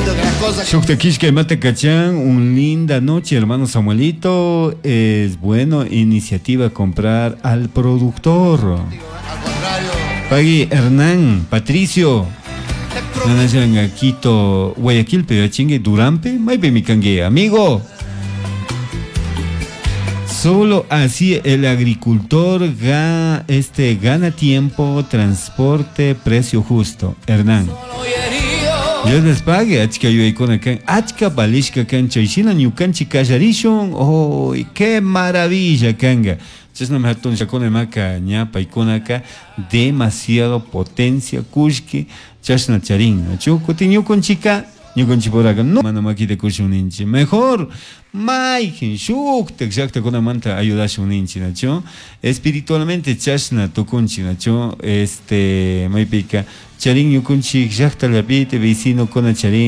Lindo que las cosas. Shukta Mata Cachán, un linda noche, hermano Samuelito. Es bueno iniciativa comprar al productor. Al contrario. Pagui Hernán, Patricio. Nanayanga Quito, Guayaquil, pero chingue Durampe, maype mi cangue, amigo. Solo así el agricultor ga, este, gana tiempo, transporte, precio justo. Hernán. Dios les pague, achka yuyaykuna kan, achka valishka kan, chayshina ñukanchik kallarishun, oh, qué maravilla kanga. Chashnami hatun llakuna imaka ña paykunaka demasiado potencia kullki chashna charin, nachu kutin ñukunchika ñukanchikpuraka no mana makita kushun ninchik, mejor mayjin shuktak llaktakunamanta ayudashun ninchik, nachu espiritualmente chashna tukunchik, nachu este maypika charin ñukunchik llaktalapiti vecinokuna charin.